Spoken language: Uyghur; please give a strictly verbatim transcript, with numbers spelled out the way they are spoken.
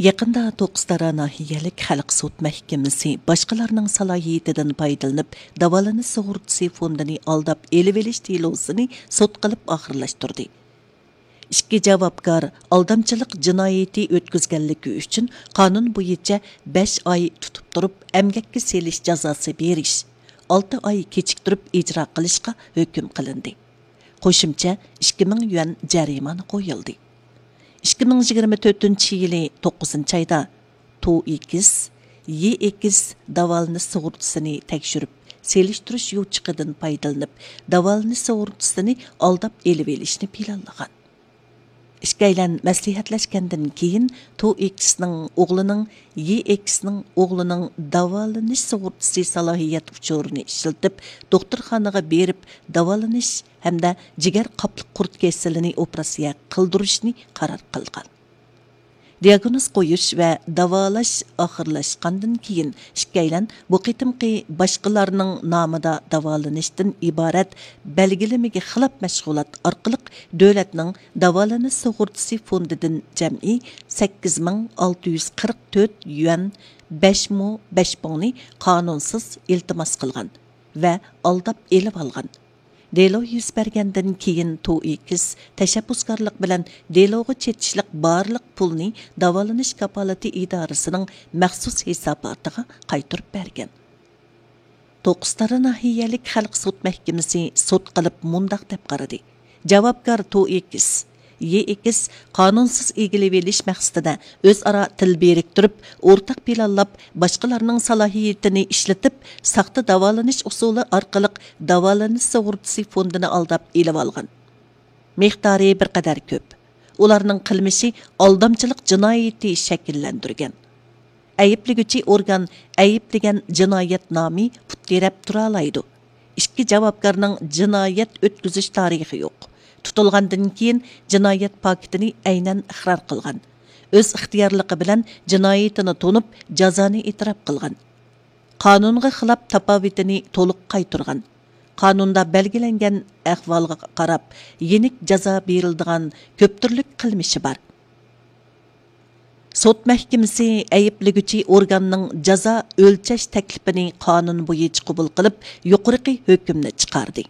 يېقىندا توققۇزتارا ناھىيەلىك خەلق سوت مەھكىمىسى باشقىلارنىڭ سالاھىيىتىدىن پايدىلىنىپ، داۋالىنىش سۇغۇرتىسى فوندىنى ئالداپ ئېلىۋېلىش دېلوسىنى سوت قىلىپ ئاخىرلاشتۇردى. ئىككى جاۋابكار ئالدامچىلىق جىنايىتى ئۆتكۈزگەنلىكى ئۈچۈن قانۇن بويىچە بەش ئاي تۇتۇپ تۇرۇپ، ئەمگەككە سېلىش جازاسى بېرىش، ئالتە ئاي كېچىكتۈرۈپ ئىجرا قىلىشقا ھۆكۈم قىلىندى. قوشۇمچە ئىككى مىڭ يۈەن جەرىمانە قويۇلدى. ئىككى مىڭ يىگىرمە تۆتىنچى يىلى توققۇزىنچى ئايدا تو ئېكس، يې ئېكس داۋالىنىش سۇغۇرتىسىنى تەكشۈرۈپ، سېلىشتۇرۇش يوچۇقىدىن پايدىلىنىپ، داۋالىنىش سۇغۇرتىسىنى ئالداپ ئېلىۋېلىشنى پىلانلىغان. ئىككىيلەن مەسلىھەتلەشكەندىن كېيىن، تو ئېكسنىڭ ئوغلىنىڭ، يې ئېكسنىڭ ئوغلىنىڭ داۋالىنىش سۇغۇرتىسى سالاھىيەت ئۇچۇرىنى ئىشلىتىپ، دوختۇرخانىغا بېرىپ داۋالىنىش ھەمدە جىگەر قاپلىق قۇرت كېسىلىنى ئوپېراتسىيە قىلدۇرۇشنى قارار قىلغان. دىئاگنوز قويۇش ۋە داۋالاش ئاخىرلاشقاندىن كېيىن، ئىككىيلەن بۇ قېتىمقى باشقىلارنىڭ نامىدا داۋالىنىشتىن ئىبارەت بەلگىلىمىگە خىلاپ مەشغۇلات ئارقىلىق دۆلەتنىڭ داۋالىنىش سۇغۇرتىسى فوندىدىن جەمئىي سەككىز مىڭ ئالتە يۈز قىرىق تۆت يۈەن، بەش مو بەش پۇڭنى قانۇنسىز ئىلتىماس قىلغان ۋە ئالداپ ئېلىۋالغان. دېلو يۈز بەرگەندىن كېيىن، تو ئېكس تەشەببۇسكارلىق بىلەن دېلوغا چېتىشلىق بارلىق پۇلنى داۋالىنىش كاپالىتى ئىدارىسىنىڭ مەخسۇس ھېساباتىغا قايتۇرۇپ بەرگەن. توققۇزتارا ناھىيەلىك خەلق سوت مەھكىمىسى سوت قىلىپ مۇنداق دەپ قارىدى: جاۋابكار تو ئېكس، يې ئېكس قانۇنسىز ئىگىلىۋېلىش مەقسىتىدە ئۆزئارا تىل بىرىكتۈرۈپ، ئورتاق پىلانلاپ، باشقىلارنىڭ سالاھىيىتىنى ئىشلىتىپ، ساختا داۋالىنىش ئۇسۇلى ئارقىلىق داۋالىنىش سۇغۇرتىسى فوندىنى ئالداپ ئېلىۋالغان. مىقدارى بىر قەدەر كۆپ. ئۇلارنىڭ قىلمىشى ئالدامچىلىق جىنايىتى شەكىللەندۈرگەن. ئەيىبلىگۈچى ئورگان ئەيىبلىگەن جىنايەت نامى پۇت تىرەپ تۇرالايدۇ. ئىككى جاۋابكارنىڭ جىنايەت ئۆتكۈزۈش تارىخى يوق. تۇتۇلغاندىن كېيىن جىنايەت پاكىتىنى ئەينەن ئىقرار قىلغان. ئۆز ئىختىيارلىقى بىلەن جىنايىتىنى تونۇپ، جازانى ئېتىراپ قىلغان. قانۇنغا خىلاپ تاپاۋىتىنى تولۇق قايتۇرغان. قانۇندا بەلگىلەنگەن ئەھۋالغا قاراپ، يېنىك جازا بېرىلىدىغان كۆپ تۈرلۈك قىلمىشى بار. سوت مەھكىمىسى ئەيىبلىگۈچى ئورگاننىڭ جازا ئۆلچەش تەكلىپىنى قانۇن بويىچە قوبۇل قىلىپ، يۇقىرىقى ھۆكۈمنى چىقاردى.